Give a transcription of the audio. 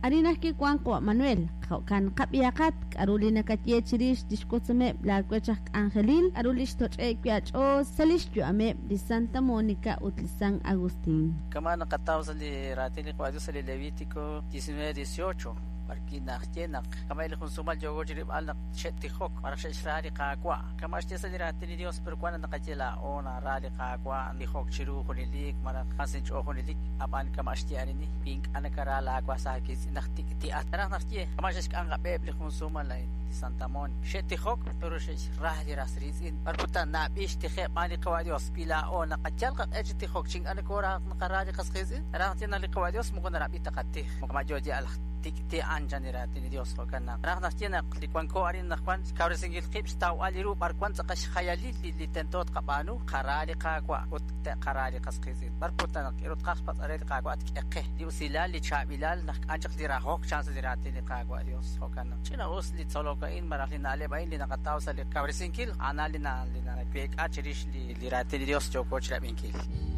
Arin ajwi' wank qawa' Manuel, jo'kan qab'ihaqat k'aru li nakaye chi rix li xwotzomeb' laawech aj k'anjelil, k'aru li xtoch'e'k wi' aach'ool sa' li xyu'ameb' li Santa Monica ut li San Agustín. Kama' naqataw sa' li raatin li Qaawa' Dios sa' li Levítico 19:18, b'ar wi' naxye naq kama' li jun sumal yooko chi rilb'al naq xe'tijok malaj xe'xra li Qaawa'. Kama' xye sa' li raatin li Dios, pero wan naq naqaye laa'o nara li Qaawa', tijok chiru junelik malaj wan sa' inch'ool junelik, ab'an kama' xye arin, wi ink'a' nakara laawas aawiitz'in naq tik'ti'at. Naraj naxye, kama' xe'xk'am qab'e li jun sumal a'in, li Santa Mónica. Xe'tijok, pero xe'xra li ras riitz'in. B'ar kutan nab'i xtijeb' b'aan li Qaawa' Dios, wi laa'o naqayal qaq'e chi tijok chi ink'a' nokoora naqara li qas qiitz'in, naraj naxye naq li Qaawa' Dios moko narab'i ta qatij. Kama' yo yal tik'ti'an chan li raatin li Dios, jo'kan naq naraj naxye naq li wanko arin anaqwan xkawresinkil qib' xtawb'al li ru b'ar wan tz'aqal xjayalil li tento tqab'aanu, qara li Qaawa' ut te'qara li qas qiitz'in. B'ar kutan naq k'aru tqaj xpatz'b'al re li Qaawa' tk'e qe li usilal, li chaab'ilal naq k'an chaq li rahok chan sa' li raatin li Qaawa' Dios, jo'kan naq ch'ina-us li tzolok a'in malaj li na'leb' a'in li naqataw sa' li kawresinkil, a'an li naweek'a chirix li raatin li Dios yooko chirab'inkil.